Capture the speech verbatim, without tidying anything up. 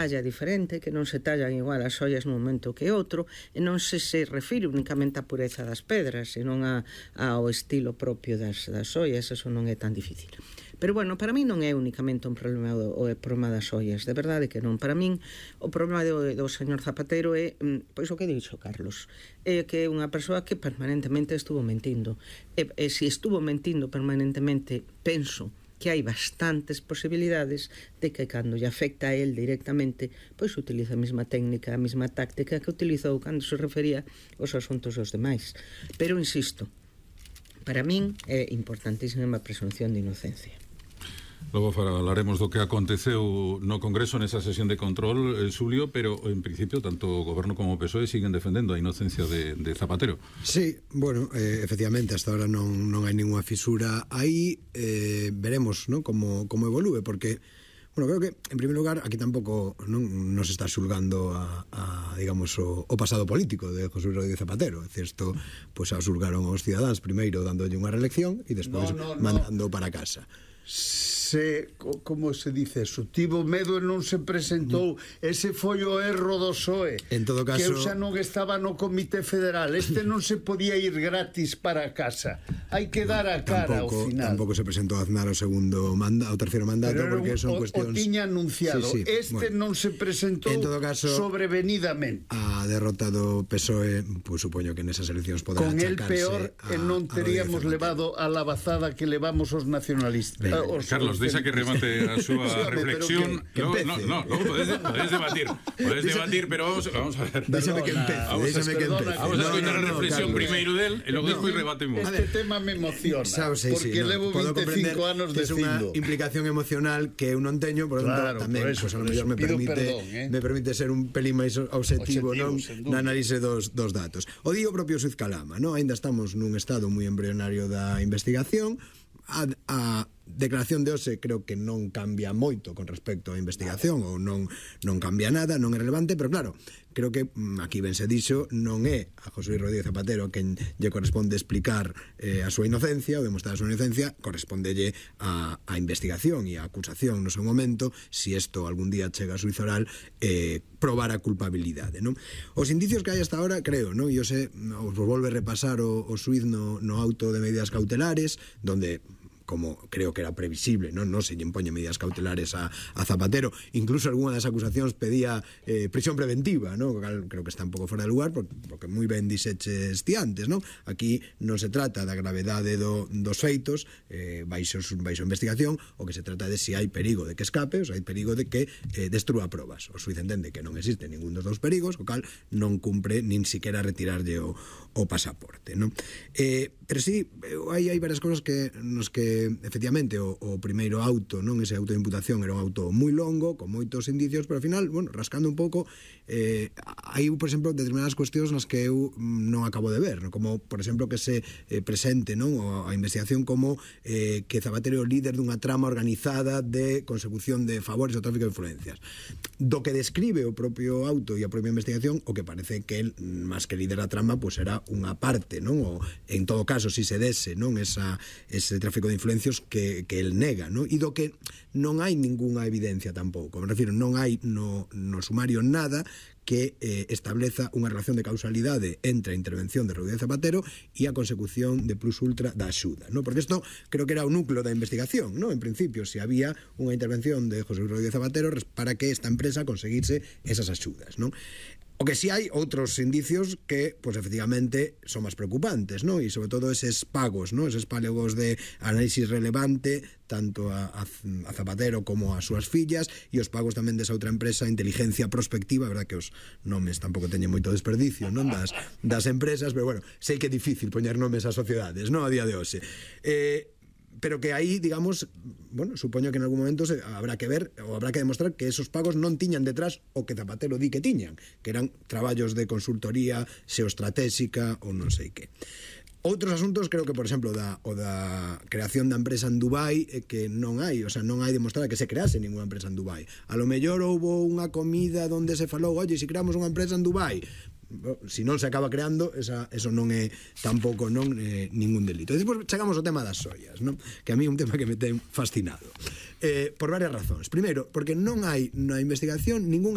talla diferente, que non se tallan igual as ollas nun momento que outro, e non se se refire únicamente á pureza das pedras, senón a, ao estilo propio das, das ollas, eso non é tan difícil. Pero, bueno, para mí non é únicamente un problema do, o problema das ollas, de verdade que non. Para min, o problema do, do señor Zapatero é, pois o que dixo Carlos, é que é unha persoa que permanentemente estuvo mentindo. E, e se estuvo mentindo permanentemente, penso que hai bastantes posibilidades de que cando lle afecta a él directamente, pois utiliza a mesma técnica, a mesma táctica que utilizou cando se refería aos asuntos dos demais. Pero, insisto, para min é importantísima a presunción de inocencia. Logo falaremos do que aconteceu no Congreso nesa sesión de control, eh, Xulio, pero en principio tanto o Goberno como o P S O E siguen defendendo a inocencia de, de Zapatero. Sí, bueno, eh, efectivamente, hasta ahora non, non hai ninguna fisura aí, eh, veremos, ¿no?, como, como evolúe, porque, bueno, creo que, en primer lugar, aquí tampouco non nos está xulgando a, a digamos, o, o pasado político de José Luis Rodríguez Zapatero. É dicir, isto, pois, pues, xulgaron aos cidadáns primeiro dándolle unha reelección e despois no, no, mandando no. para casa. Se, como se dice eso, tivo medo e non se presentou, ese foi o erro do P S O E, en todo caso, que eu xa non estaba no Comité Federal, este non se podía ir gratis para casa, hai que dar a cara tampouco, ao final. Tampouco se presentou a Aznar o segundo manda, o terceiro mandato, porque son o, cuestións... o tiña anunciado, sí, sí, bueno, este non se presentou en todo caso, sobrevenidamente. A derrota do P S O E, pues, supoño que nesas eleccións poderá con el achacarse peor, a, non teríamos levado a la bazada que levamos os nacionalistas. Ben, uh, os Carlos, deixa que remate a súa reflexión. Que, que no, no, no, no, podes, podes debatir. Podes debatir, pero vamos, vamos a ver. Déxame que empece. Vamos, déxame que empece. Vamos a escoitar no, no, a reflexión no, primeiro del e logo no, despois rebatemos. Este tema me emociona, sabes, sí, porque sí, no, levo vinte e cinco anos de dicindo. É unha implicación emocional que eu non teño, por claro, tanto, tamén, por eso, pues, a lo mellor me permite, perdón, eh? me permite ser un pelín máis objetivo, non, na análise dos, dos datos. O digo propio Suiz Calama, non? Ainda estamos nun estado moi embrionario da investigación. A, a declaración de hoxe creo que non cambia moito con respecto á investigación, ou non, non cambia nada, non é relevante, pero claro, creo que aquí ben se dixo, non é a José Luis Rodríguez Zapatero quen lle corresponde explicar eh, a súa inocencia ou demostrar a súa inocencia, correspondelle a, a investigación e a acusación no seu momento, si isto algún día chega a xuízo oral, eh, probar a culpabilidade, non? Os indicios que hai hasta ahora, creo, non? E eu sei, os volve a repasar o, o xuíz no, no auto de medidas cautelares, donde, como creo que era previsible, non, non se lle impoñen medidas cautelares a, a Zapatero, incluso algunha das acusacións pedía eh, prisión preventiva, non? Creo que está un pouco fora de lugar, porque, porque moi ben dixeches ti antes, non? Aquí non se trata da gravedade do, dos feitos, eh, baixo, baixo investigación, o que se trata de se hai perigo de que escape, ou se hai perigo de que eh, destrúa probas. O xuíz entende que non existe ningún dos dous perigos, o cal non cumpre nin siquiera retirarlle o, o pasaporte, non? Eh, pero sí, hai, hai varias cosas que nos que efectivamente o, o primeiro auto, non, ese auto de imputación era un auto moi longo, con moitos indicios, pero ao final, bueno, rascando un pouco, eh, hai, por exemplo, determinadas cuestións nas que eu non acabo de ver, non? Como, por exemplo, que se eh, presente, non, a investigación como eh, que Zapatero é o líder dunha trama organizada de consecución de favores ao tráfico de influencias. Do que describe o propio auto e a propia investigación, o que parece que el, máis que líder da trama, pois era unha parte, non? O, en todo caso, si se dese, non, esa, ese tráfico de influencias que, que el nega, non? E do que non hai ningunha evidencia tampouco, me refiro, non hai no, no sumario nada que eh, estableza unha relación de causalidade entre a intervención de Rodríguez Zapatero e a consecución de plus ultra da axuda, non? Porque isto creo que era o núcleo da investigación, non? En principio, se había unha intervención de José Luis Rodríguez Zapatero para que esta empresa conseguise esas axudas, non? O que si hai outros indicios que, pois, efectivamente, son máis preocupantes, non? E, sobre todo, eses pagos, non? Eses pagos de análisis relevante, tanto a, a, a Zapatero como a súas fillas, e os pagos tamén desa outra empresa, Inteligencia Prospectiva, verdad que os nomes tampouco teñen moito desperdicio, non? Das, das empresas, pero, bueno, sei que é difícil poñer nomes a sociedades, non? A día de hoxe. Eh... pero que aí, digamos, bueno, supoño que en algún momento se, habrá que ver ou habrá que demostrar que esos pagos non tiñan detrás o que Zapatero di que tiñan, que eran traballos de consultoría xeoestratégica ou non sei que. Outros asuntos, creo que, por exemplo, da, o da creación da empresa en Dubai, eh, que non hai, o sea, non hai demostrado que se crease ninguna empresa en Dubai. A lo mellor houbo unha comida onde se falou, oye, se creamos unha empresa en Dubai, si non se acaba creando, esa, eso non é tampouco non eh, ningún delito. E despois chegamos ao tema das ollas, non? Que a mí é un tema que me ten fascinado, eh, por varias razóns. Primeiro, porque non hai na investigación ningún